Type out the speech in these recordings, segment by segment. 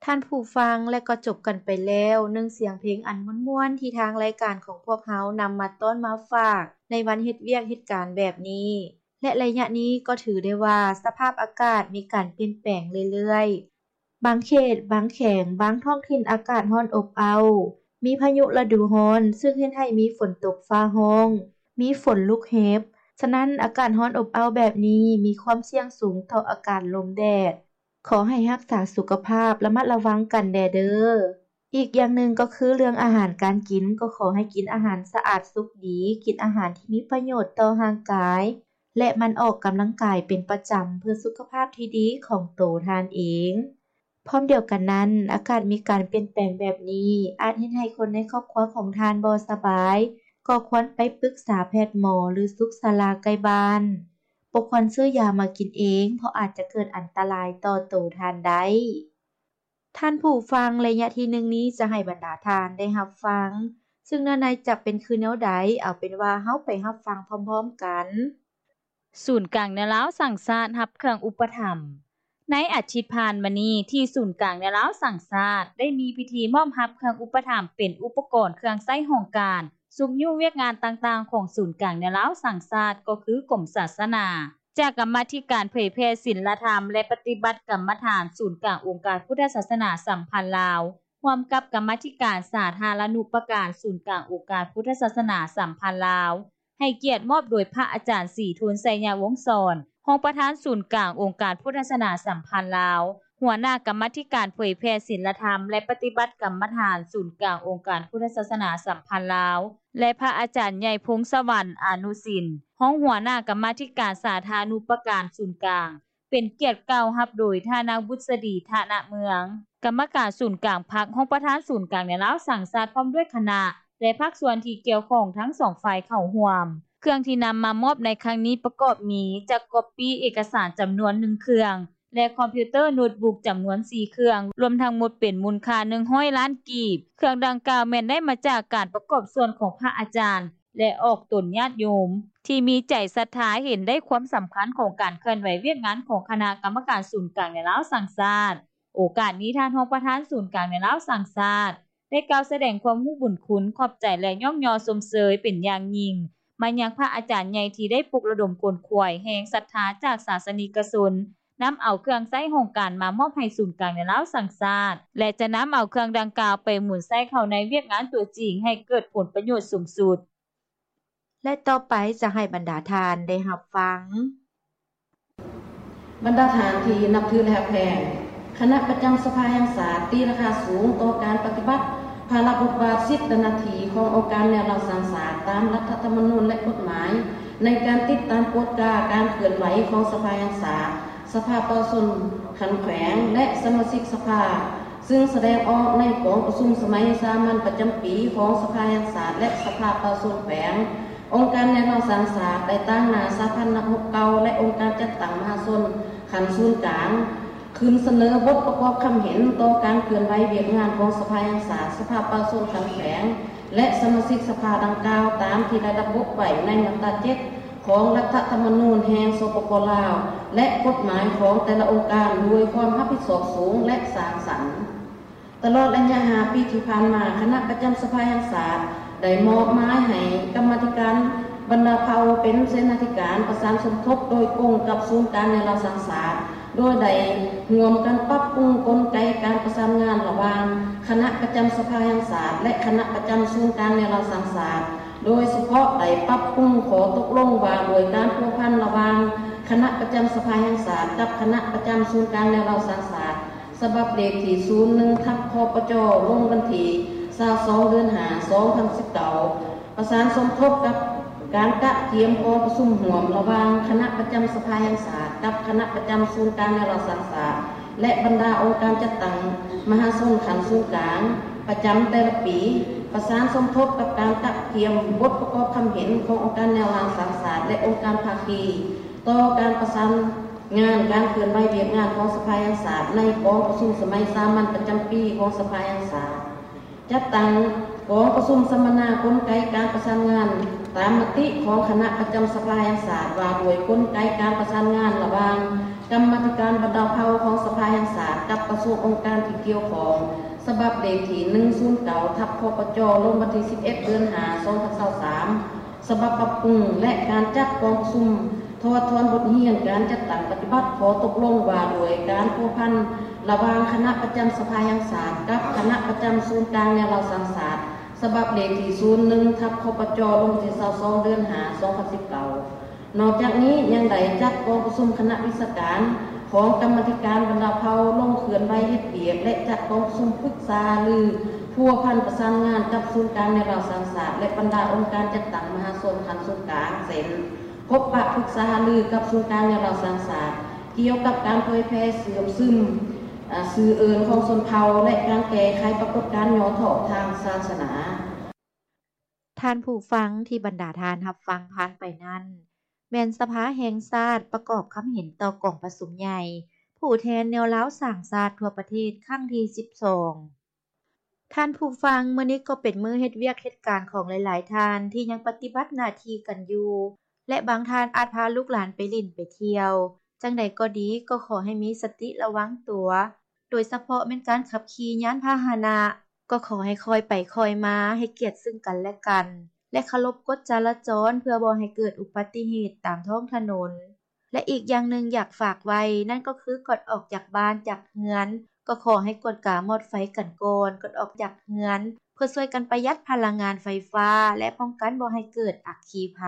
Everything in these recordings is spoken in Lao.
ທ່ານຜູ້ຟັງ ແລະກໍຈົບກັນໄປແລ້ວ ໜຶ່ງສຽງເພງອັນມ່ວນໆ ທີ່ທາງລາຍການຂອງພວກເຮົານຳມາຕ້ອນມາຝາກ ໃນວັນເຮັດວຽກເຮັດການແບບນີ້ ແລະໄລຍະນີ້ກໍຖືໄດ້ວ່າ ສະພາບອາກາດມີການປ່ຽນແປງເລື້ອຍໆ. ບາງເຂດ, ບາງແຂວງ, ບາງທ້ອງຖິ່ນອາກາດຮ້ອນອົບເອົ້າ, ມີພາຍຸລະດູຮ້ອນ ຊຶ່ງເຮັດໃຫ້ມີຝົນຕົກຟ້າຮ້ອງ, ມີຝົນລູກເຫັບ. ສະນັ້ນ, ອາກາດຮ້ອນອົບເອົ້າແບບນີ້ ມີຄວາມສ່ຽງສູງຕໍ່ອາກາດລົມແດດ. ຂໍໃຫ້ຮັກສາສຸຂະພາບ, ລະມັດລະວັງກັນແດ່ເດີ້. ອີກຢ່າງໜຶ່ງກໍຄືເລື່ອງອາຫານການກິນ, ກໍຂໍໃຫ້ກິນອາຫານສະອາດສຸກດີ, ກິນອາຫານທີ່ມີປະໂຫຍດຕໍ່ຮ່າງກາຍ ແລະ ໝັ່ນອອກກຳລັງກາຍເປັນປະຈຳ ເພື່ອສຸຂະພາບທີ່ດີຂອງໂຕທ່ານເອງ. ພ້ອມດຽວກັນນັ້ນ, ອາກາດມີການປ່ຽນແປງແບບນີ້ ອາດເຮັດໃຫ້ຄົນໃນຄອບຄົວຂອງທ່ານບໍ່ສະບາຍ, ກໍຄວນໄປປຶກສາແພດໝໍ ຫຼື ສຸກສາລາໃກ້ບ້ານ. ບໍ່ຄວນຊື້ຢາມາກິນເອງ, ເພາະອາດຈະເກີດອັນຕະລາຍຕໍ່ໂຕທ່ານໄດ້. ທ່ານຜູ້ຟັງ, ໄລຍະທີໜຶ່ງນີ້ຈະໃຫ້ບັນດາທ່ານໄດ້ຮັບຟັງ, ຊຶ່ງເນື້ອໃນຈະເປັນຄືແນວໃດ, ເອົາເປັນວ່າເຮົາໄປຮັບຟັງພ້ອມໆກັນ. ສູນກາງແນວລາວສ້າງຊາດຮັບເຄື່ອງອຸປະຖຳ. ໃນອາທິດຜ່ານມານີ້ ທີ່ສູນກາງແນວລາວສ້າງຊາດ ໄດ້ມີພິທີມອບຮັບເຄື່ອງອຸປະຖຳເປັນອຸປະກອນເຄື່ອງໃຊ້ຫ້ອງການ ຊຸກຍູ້ວຽກງານຕ່າງໆຂອງສູນກາງແນວລາວສ້າງຊາດ ກໍຄືກົມສາສະໜາ ຈາກກຳມາທິການເຜີຍແຜ່ສິນລະທຳ ແລະ ປະຕິບັດກຳມະຖານສູນກາງອົງການພຸດທະສາສະໜາສຳພັນລາວ ຮ່ວມກັບກຳມາທິການສາທາລະນຸປະການສູນກາງອົງການພຸດທະສາສະໜາສຳພັນລາວ ໃຫ້ກຽດມອບໂດຍພະອາຈານ ສີທູນ ໄຊຍະວົງສອນ ຮອງປະທານສູນກາງອົງການພຸດທະສາສະໜາສຳພັນລາວ, ຫົວໜ້າກຳມາທິການເຜີຍແຜ່ສິນລະທຳ ແລະ ປະຕິບັດກຳມະຖານສູນກາງອົງການພຸດທະສາສະໜາສຳພັນລາວ ແລະ ພະອາຈານໃຫຍ່ ພົງສະຫວັນ ອານຸສິນ ຮອງຫົວໜ້າກຳມາທິການສາທາລະນຸປະການສູນກາງ. ເປັນກຽດກ່າວຮັບໂດຍທ່ານນາງບຸດສະດີ ທະນະເມືອງ ກຳມະການສູນກາງພັກ, ຮອງປະທານສູນກາງແນວລາວສ້າງຊາດ ພ້ອມດ້ວຍຄະນະ ແລະ ພາກສ່ວນທີ່ກ່ຽວຂ້ອງທັງສອງຝ່າຍເຂົ້າຮ່ວມ. ເຄື່ອງທີ່ນຳມາມອບໃນຄັ້ງນີ້ປະກອບມີ ຈັກກອບປີ້ເອກະສານຈຳນວນໜຶ່ງເຄື່ອງ ແລະ ຄອມພິວເຕີໂນດບຸກຈຳນວນສີ່ເຄື່ອງ, ລວມທັງໝົດເປັນມູນຄ່າໜຶ່ງຮ້ອຍລ້ານກີບ. ເຄື່ອງດັ່ງກ່າວແມ່ນໄດ້ມາຈາກການປະກອບສ່ວນຂອງພະອາຈານ ແລະ ອອກຕົນຍາດໂຍມ ທີ່ມີໃຈສັດທາເຫັນໄດ້ຄວາມສຳຄັນຂອງການເຄື່ອນໄຫວວຽກງານຂອງຄະນະກຳມະການສູນກາງແນວລາວສ້າງຊາດ. ໂອກາດນີ້ ທ່ານຮອງປະທານສູນກາງແນວລາວສ້າງຊາດ ໄດ້ກ່າວສະແດງຄວາມຮູ້ບຸນຄຸນ, ຂອບໃຈ ແລະ ຍ້ອງຍໍຊົມເຊີຍເປັນຢ່າງຍິ່ງ ມາຍັງພະອາຈານໃຫຍ່ທີ່ໄດ້ປຸກລະດົມຂົນຂວາຍແຮງສັດທາຈາກສາສະນິກະຊົນ ນຳເອົາເຄື່ອງໃຊ້ຫ້ອງການມາມອບໃຫ້ສູນກາງແນວລາວສ້າງຊາດ ແລະ ຈະນຳເອົາເຄື່ອງດັ່ງກ່າວໄປໝູນໃຊ້ເຂົ້າໃນວຽກງານຕົວຈິງໃຫ້ເກີດຜົນປະໂຫຍດສູງສຸດ. ແລະ ຕໍ່ໄປຈະໃຫ້ບັນດາທ່ານໄດ້ຮັບຟັງ. ບັນດາທ່ານທີ່ນັບຖື ແລະ ຮັກແພງ, ຄະນະປະຈຳສະພາແຫ່ງຊາດ ຕີລາຄາສູງຕໍ່ການປະຕິບັດພາລະບົດບາດ, ສິດ ແລະ ໜ້າທີ່ຂອງອົງການແນວລາວສ້າງຊາດ ຕາມລັດຖະທຳມະນູນ ແລະ ກົດໝາຍ ໃນການຕິດຕາມກວດກາການເຄື່ອນໄຫວຂອງສະພາແຫ່ງຊາດ, ສະພາປະຊາຊົນຂັ້ນແຂວງ ແລະ ສະມາຊິກສະພາ, ຊຶ່ງສະແດງອອກໃນກອງປະຊຸມສະໄໝສາມັນປະຈຳປີຂອງສະພາແຫ່ງຊາດ ແລະ ສະພາປະຊາຊົນແຂວງ. ອົງການແນວລາວສ້າງຊາດ ໄດ້ຕາງໜ້າສະຫະພັນນັກຮົບເກົ່າ ແລະ ອົງການຈັດຕັ້ງມະຫາຊົນຂັ້ນສູນກາງ ຂຶ້ນສະເໜີບົດປະກອບຄຳເຫັນຕໍ່ການເຄື່ອນໄຫວວຽກງານຂອງສະພາແຫ່ງຊາດ, ສະພາປະຊາຊົນຂັ້ນແຂວງ ແລະ ສະມາຊິກສະພາດັ່ງກ່າວ ຕາມທີ່ໄດ້ລະບຸໄວ້ໃນມາດຕາເຈັດ ຂອງລັດຖະທຳມະນູນແຫ່ງ ສປປ ລາວ ແລະ ກົດໝາຍຂອງແຕ່ລະອົງການ ດ້ວຍຄວາມຮັບຜິດຊອບສູງ ແລະ ສ້າງສັນ. ຕະຫຼອດໄລຍະຫ້າປີທີ່ຜ່ານມາ, ຄະນະປະຈຳສະພາແຫ່ງຊາດ ໄດ້ມອບໝາຍໃຫ້ກຳມາທິການບັນດາເຜົ່າເປັນເສນາທິການປະສານສົມທົບໂດຍກົງກັບສູນກາງແນວລາວສ້າງຊາດ, ໂດຍໄດ້ຮ່ວມກັນປັບປຸງກົນໄກການປະສານງານລະຫວ່າງຄະນະປະຈຳສະພາແຫ່ງຊາດ ແລະ ຄະນະປະຈຳສູນກາງແນວລາວສ້າງຊາດ, ໂດຍສະເພາະໄດ້ປັບປຸງຂໍ້ຕົກລົງວ່າດ້ວຍການພົວພັນລະຫວ່າງຄະນະປະຈຳສະພາແຫ່ງຊາດກັບຄະນະປະຈຳສູນກາງແນວລາວສ້າງຊາດ ສະບັບເລກທີສູນໜຶ່ງ ທັບ ຄປຈ ລົງວັນທີຊາວສອງ ເດືອນຫ້າ ສອງພັນສິບເກົ້າ. ປະສານສົມທົບກັບການກະກຽມກອງປະຊຸມຮ່ວມລະຫວ່າງຄະນະປະຈຳສະພາແຫ່ງຊາດກັບຄະນະປະຈຳສູນກາງແນວລາວສ້າງຊາດ ແລະ ບັນດາອົງການຈັດຕັ້ງມະຫາຊົນຂັ້ນສູນກາງປະຈຳແຕ່ລະປີ, ປະສານສົມທົບກັບການກະກຽມບົດປະກອບຄຳເຫັນຂອງອົງການແນວລາວສ້າງຊາດ ແລະ ອົງການພາຄີ ຕໍ່ການປະສານງານການເຄື່ອນໄຫວວຽກງານຂອງສະພາແຫ່ງຊາດໃນກອງປະຊຸມສະໄໝສາມັນປະຈຳປີຂອງສະພາແຫ່ງຊາດ. ຈັດຕັ້ງກອງປະຊຸມສຳມະນາກົນໄກການປະສານງານຕາມມະຕິຂອງຄະນະປະຈຳສະພາແຫ່ງຊາດ ວ່າດ້ວຍກົນໄກການປະສານງານລະຫວ່າງກຳມາທິການບັນດາເຜົ່າຂອງສະພາແຫ່ງຊາດກັບປະ ສ່ວນອົງການທີ່ກ່ຽວຂ້ອງ ສະບັບເລກທີໜຶ່ງສູນເກົ້າ ທັບ ຄປຈ ລົງວັນທີສິບເອັດ ເດືອນຫ້າ ສອງພັນຊາວສາມ ສະບັບປັບປຸງ ແລະ ການຈັດກອງປະຊຸມ ຖອດຖອນບົດຮຽນການຈັດຕັ້ງປະຕິບັດຂໍ້ຕົກລົງວ່າດ້ວຍການພົວພັນລະຫວ່າງຄະນະປະຈຳສະພາແຫ່ງຊາດ ກັບຄະນະປະຈຳສູນກາງແນວລາວສ້າງຊາດ ສະບັບເລກທີສູນໜຶ່ງ ທັບ ຄປຈ ລົງວັນທີຊາວສອງ ເດືອນຫ້າ ສອງພັນສິບເກົ້າ. ນອກຈາກນີ້ຍັງໄດ້ຈັດກອງປະຊຸມຄະນະວິຊາການຂອງກຳມາທິການບັນດາເຜົ່າ ລົງເຄື່ອນໄຫວເຮັດວຽກ ແລະ ຈັດກອງປະຊຸມປຶກສາຫາລືພົວພັນປະສານງານກັບສູນກາງແນວລາວສ້າງຊາດ ແລະ ບັນດາອົງການຈັດຕັ້ງມະຫາຊົນຂັ້ນສູນກາງ ເຊັ່ນ ພົບປະປຶກສາຫາລືກັບສູນກາງແນວລາວສ້າງຊາດ ກ່ຽວກັບການເຜີຍແຜ່ເຊື່ອມຊຶມຊື່ເອີ້ນຂອງຊົນເຜົ່າ ແລະ ການແກ້ໄຂປາກົດການຫຍໍ້ທໍ້ທາງສາສະໜາ. ທ່ານຜູ້ຟັງທີ່ບັນດາທ່ານຮັບຟັງຜ່ານໄປນັ້ນ ແມ່ນສະພາແຫ່ງຊາດປະກອບຄຳເຫັນຕໍ່ກອງປະຊຸມໃຫຍ່ ຜູ້ແທນແນວລາວສ້າງຊາດທົ່ວປະເທດຄັ້ງທີສິບສອງ. ທ່ານຜູ້ຟັງ, ມື້ນີ້ກໍເປັນມື້ເຮັດວຽກເຮັດການຂອງຫຼາຍໆທ່ານທີ່ຍັງປະຕິບັດໜ້າທີ່ກັນຢູ່ ແລະ ບາງທ່ານອາດພາລູກຫຼານໄປຫຼິ້ນໄປທ່ຽວ. ຈັ່ງໃດກໍດີ, ກໍຂໍໃຫ້ມີສະຕິລະວັງຕົວ, ໂດຍສະເພາະແມ່ນການຂັບຂີ່ຍານພາຫະນະ, ກໍຂໍໃຫ້ຄ່ອຍໄປຄ່ອຍມາ, ໃຫ້ກຽດເຊິ່ງກັນແລະກັນ ແລະ ເຄົາລົບກົດຈະລາຈອນ ເພື່ອບໍ່ໃຫ້ເກີດອຸບັດຕິເຫດຕາມທ້ອງຖະໜົນ. ແລະ ອີກຢ່າງໜຶ່ງຢາກຝາກໄວ້ ນັ້ນກໍຄືກ່ອນອອກຈາກບ້ານຈາກເຮືອນ ກໍຂໍໃຫ້ກວດກາມອດໄຟກັນກ່ອນ ກ່ອນອອກຈາກເຮືອນ ເພື່ອຊ່ວຍກັນປະຢັດພະລັງງານໄຟຟ້າ ແລະ ປ້ອງກັນບໍ່ໃຫ້ເກີດອັກຄີໄພ.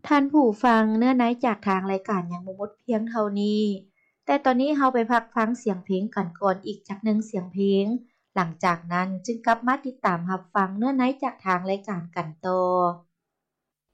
ທ່ານຜູ້ຟັງ, ເນື້ອໃນຈາກທາງລາຍການຍັງບໍ່ໝົດພຽງເທົ່ານີ້, ແຕ່ຕອນນີ້ເຮົາໄປພັກຟັງສຽງເພງກັນກ່ອນອີກຈັກໜຶ່ງສຽງເພງ, ຫຼັງຈາກນັ້ນຈຶ່ງກັບມາຕິດຕາມຮັບຟັງເນື້ອໃນຈາກທາງລາຍການກັນຕໍ່.